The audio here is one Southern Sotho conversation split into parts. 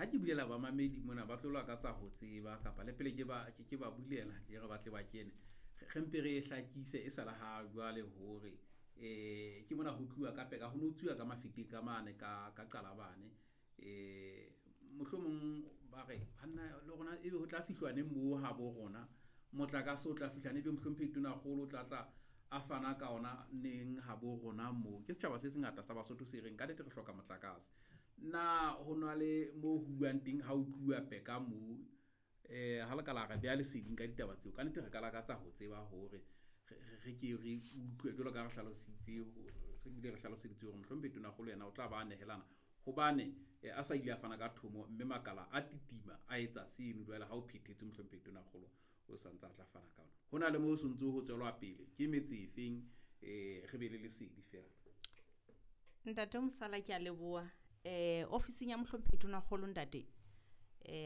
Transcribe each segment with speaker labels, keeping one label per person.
Speaker 1: Ha ke bulela bamamedi mona ba tlo lakatsa ho tseba kapa le pele ke ba ke ba bulela, ke re ba tle ba kene. Re mpe re e hlakise e sa le ha jwale hore ke mona ho tluwa ka peka ho no tsuwa ka Mafeteng ka mane ka Qalabane. Mohlomong ba re banna le rona ebe ho tla fihluwa neng moo habo rona. Motlakase o tla fihla ebe Mohlomphehi Tonakgolo o tla tla a fana ka ona neng habo rona moo. Ke setjhaba se sengata sa Basotho se reng kannete re hloka motlakase. Na ho na le mo ho uwang teng ha ho tluwa peka moo? Ha le ka la re beha leseding ka ditaba tseo, kannete re ka lakatsa ho tseba hore re ke re utlwe jwalo ka ha re hlalositse re bile re hlaloseditswe hore Mohlomphehi Tonakgolo yena o tla ba nehelana hobane a sa ile a fana ka thomo mme makala a titima a etsa seno. Jwale ha o phethetse Mohlomphehi Tonakgolo o santse a tla fana ka ona. Ho na le moo so ntso ho tswelwa pele ke metse e feng? Re be le lesedi feela.
Speaker 2: Ntate Mosala, ke a leboha. Ofising ya Mohlomphehi Tonakgolo ntate,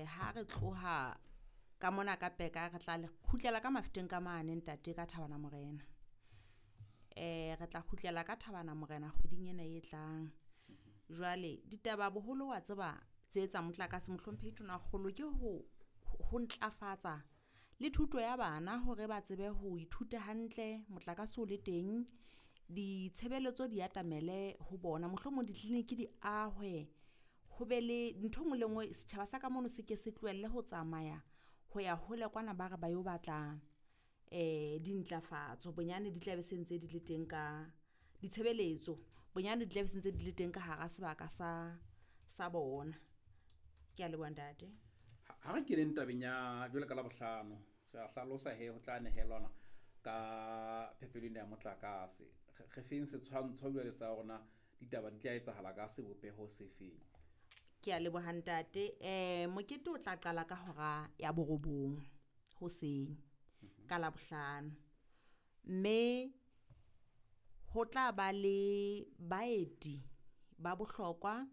Speaker 2: ha re tloha ka mona ka peka re tla le kgutlela ka Mafeteng ka mane ntate ka Thabana Morena. Re tla kgutlela ka Thabana Morena kgweding ena e tlang. Jwale ditaba boholo wa tseba tse tsa motlakase Mohlomphehi Tonakgolo ke ho ntlafatsa le thuto ya bana hore ba tsebe ho ithuta hantle, motlakase o le teng, ditshebeletso di atamele ho bona, mohlomong ditleliniki di ahwe, ho be le ntho e nngwe le nngwe, setjhaba sa ka mono se ke se tlohelle ho tsamaya ho ya hole kwana ba re ba yo batla dintlafatso. Bonyane di tla be se ntse di le teng ka ditshebeletso, bonyane di tla be se ntse di le teng ka hara sebaka sa bona. Ke a leboha ntate.
Speaker 1: Ha re keneng tabeng ya jwale ka Labohlano, re a hlalosa he ho tla nehelwana ka phepelo ena ya motlakase. Re feng setshwantsho jwale sa hore na ditaba di tla etsahala ka sebopeho se feng?
Speaker 2: Ke a leboha ntate. Mokete o tla qala ka hora ya 9 hoseng ka Labohlano. Mme ho tla ba le baeti ba bohlokwa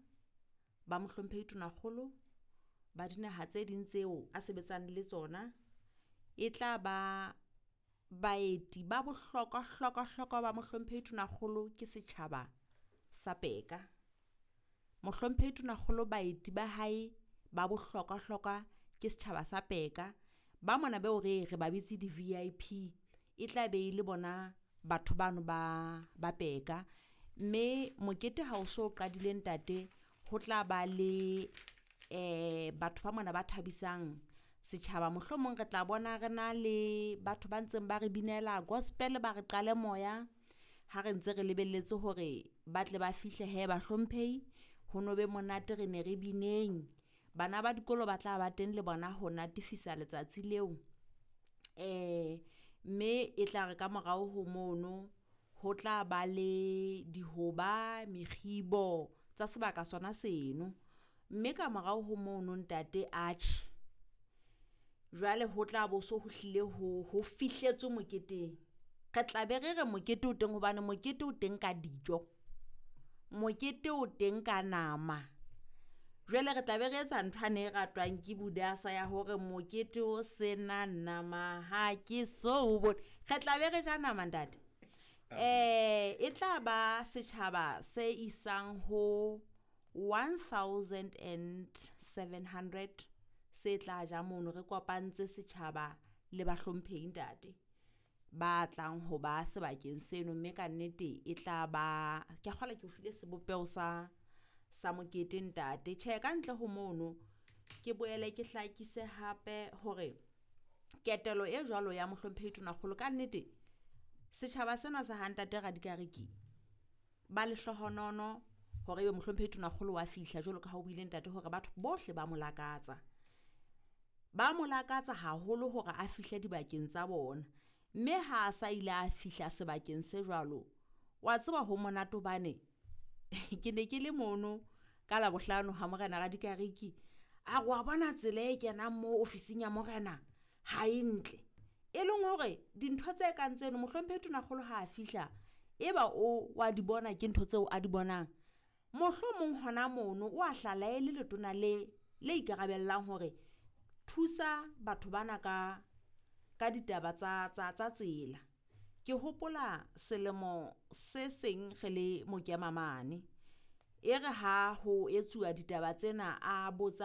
Speaker 2: ba Mohlomphehi Tonakgolo ba dinaha tse ding tseo a sebetsang le tsona. E tla ba baeti ba bohlokwa hlokwa hlokwa ba Mohlomphehi Tonakgolo ke setjhaba sa Peka. Mohlomphehi Tonakgolo baeti ba hae ba bohlokwa hlokwa ke setjhaba sa Peka. Ba mona beo re re ba bitse di-VIP, e tla be e le bona batho bano ba Peka. Mme mokete ha o so qadile ntate, ho tla ba le batho ba mona ba thabisang setjhaba. Mohlomong re tla bona re na le batho ba ntseng ba re binela gospel, ba re qale moya ha re ntse re lebelletse hore ba tle ba fihle he bahlomphehi, ho no be monate re ne re bineng. Bana ba dikolo ba tla ba teng le bona ho natefisa letsatsi leo. Mme e tla re ka morao ho mono ho tla ba le dihoba, mekgibo tsa sebaka sona seno. Mme ka morao ho mono ntate, atjhe jwale ho tla bo so ho hlile ho fihletswe moketeng. Re tla be re re mokete o teng hobane mokete o teng ka dijo, mokete o teng ka nama. Jwale re tla be re etsa nthwane e ratwang ke Budasa ya hore mokete o sena nama ha ke so o bone. Re tla be re ja nama ntate. E tla ba setjhaba se isang ho 1700 se tla ja mono. Re kopantse setjhaba le bahlomphehi ntate ba tlang ho ba sebakeng seno. Mme ka nnete e tla ba, ke a kgolwa ke o file sebopeho sa mokete ntate. Tjhe, ka ntle ho mono ke boele ke hlakise hape hore ketelo e jwalo ya Mohlomphehi Tonakgolo ka nnete setjhaba sena sa ha ntate Radikariki ba lehlohonono hore ebe Mohlomphehi Tonakgolo wa fihla jwalo ka ha o buile ntate hore batho bohle ba mo lakatsa. Ba mo lakatsa haholo hore a fihle dibakeng tsa bona. Mme ha a sa ile a fihla sebakeng se jwalo, wa tseba ho monate hobane ke ne ke le mono ka Labohlano ha Morena Radikariki a re wa bona tsela e kenang mo ofising ya morena ha e ntle. E leng hore dintho tse kang tseno Mohlomphehi Tonakgolo ha a fihla eba o wa di bona ke ntho tseo a di bonang. Mohlomong hona mono o a hlala e le letona le ikarabellang hore thusa batho bana ka ditaba tsa tsela. Ke hopola selemo se seng re le mokema mane, e re ha ho etsuwa ditaba tsena a botsa